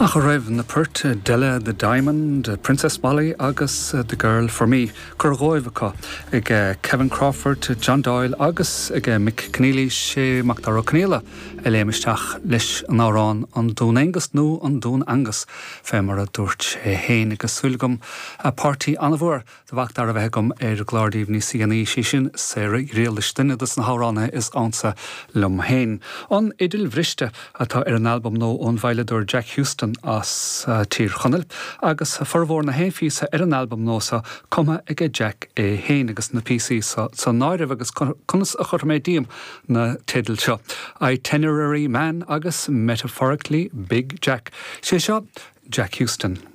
Ach a raibh na poirt Della the Diamond, Princess Molly agus The Girl For Me curtha dhóibh acu ag Kevin Crawford, John Doyle agus ag Mick Conneely, sé Macdara Ó Conaola a léim isteach leis an amhrán An Dún Aengus nó An Dún Angus fé mar a dúirt sé fhéin agus súil agam páirtí an-mhór Do Mhacdara a bheith agam ar an gclár daoibh níos déanaí, sí sin Sarah Ghriallais, duine dos na hamhránaithe is ansa liom féin. An Fhidil Bhriste atá ar an albam nua ón veidhleadóir Jack Huston as Tír Chonaill, agus formhór na haon phíosa ar an albam nua seo cumtha aige Jack é féin, agus na píosaí seo san áireamh, agus conas a chuirfidh mé díom na teidil seo, Itinerary Man agus Metaphorically Big Jack. Sé seo Jack Huston.